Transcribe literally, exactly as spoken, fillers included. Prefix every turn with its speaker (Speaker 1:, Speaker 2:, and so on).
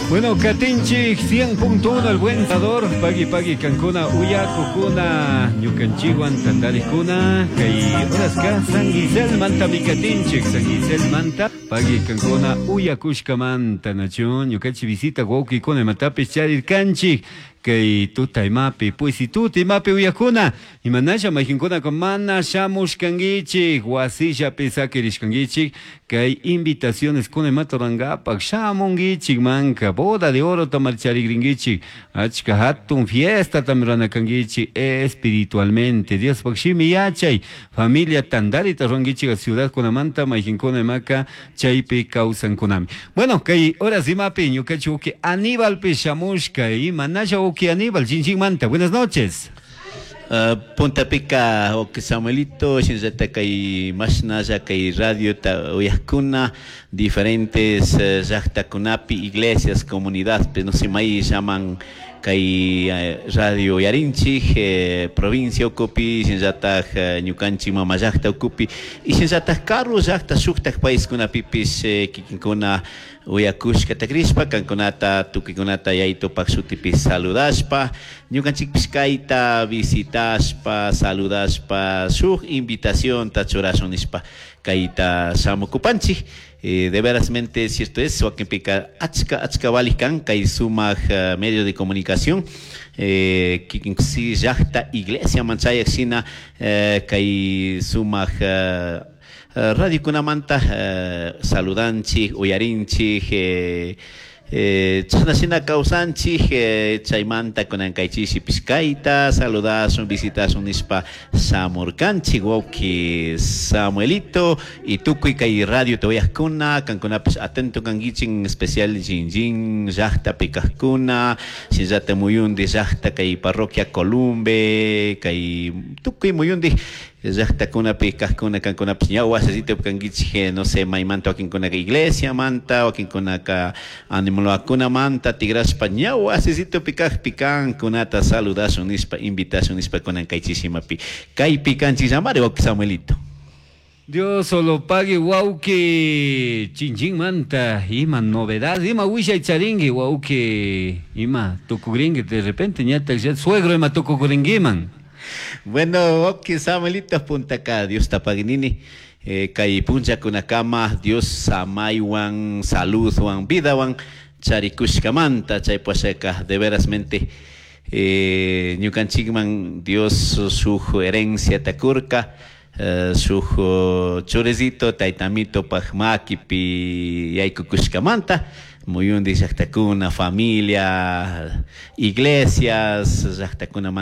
Speaker 1: Bueno, katinchik cien punto uno El Buen Sabor, pagui pagui kankuna uyakukuna, ñukanchikwan tantarikuna, kay horaska San Gisel manta katinchik, San Gisel manta, pagui kankuna uyakushkamanta, nachu, ñukanchik visita wawkikuna imatapish charirkanchik, kay tuta imapi, pues tuta imapi uyakuna, imanasha mayqinkunaka mana shamushkankichik, wasillapi sakirishkankichik, kay invitaciones kuna imata rurankapak shamunkichik manka, boda de oro marcharigrinkichik, achka hatun fiesta ruranakankichik espiritualmente, Diospaq shimi yachay, familia tandarita rurankichik ciudad kunamanta mayqinkuna imaka chaypi kawsankunami. Bueno, kay horas imapi ñukanchik wawki Aníbalpi shamushka, imanasha wawki Aníbal, Chinchimanta, buenas noches.
Speaker 2: Uh, puntapika wawki Samuelito, shinallata kay mashnalla kay radiota uyakuna diferentes uh, llaqtakunapi, iglesias, comunidad, no sé, may llaman kay uh, radio uyarinchik eh, provincia ukupi, shinallataq uh, ñukanchik mama llaqta ukupi y shinallataq karu llaqta shuktak paiskunapipis eh, kikinkuna uyakushkata krishpa kankunata tukuykunata Yayitupak shutipi saludashpa, ñukanchikpish kayta visitashpa, saludashpa, shuk invitacionta churashun nishpa kayta shamukupanchik. eh, de verasmente cierto es, wakinpika achka achka valik kan kay sumak uh, medio de comunicación eh, kikin si llaqta iglesia manchayak shina eh, kay sumak uh, radiokunamanta uh, saludanchik, uyarinchik, eh, eh, chashna shina kawsanchik, eh, chaymanta kunan kaychishipish kayta saludashun, visitashun nishpa shamurkanchik, wawki Samuelito, y tukuy kay radio uyajkuna, kankunapish atento kankichik, en especial Jinjin llaqtapi kajkuna, shinallata muyundi llaqta kay parroquia Columbe, kay tukuy muyundi llaqtakunapi kajkuna, kankunapish ña wasisitupi kankichik, no sé, maymanta wakinkunaka iglesiamanta, wakinkunaka animalkunamanta tigrashpa ña wasisitupi kajpi kankunata saludashun nishpa, invitashun nishpa kunan kay chishimapi kaypi kanchik llamari, wawki Samuelito.
Speaker 1: Dios solo pague, wawki, Chinchinmanta, ima novedad, ima wishay charingi, wawki, ima tukugringi, de repente ñata suegro ima tukugringiman.
Speaker 2: Bueno, wawki Samuelito, puntaka Dios ta paguinini eh, kay punllakunakama Dios samaywan, saludwan, vidawan charikushkamanta, chay pashaka de verasmente eh, ñukanchikman Dios shuk herencia takurka, eh, shuk churisito taytamito pak makipi yaykukushkamanta, muyundi llaqtakuna, familia, iglesias llaqtakunamanta.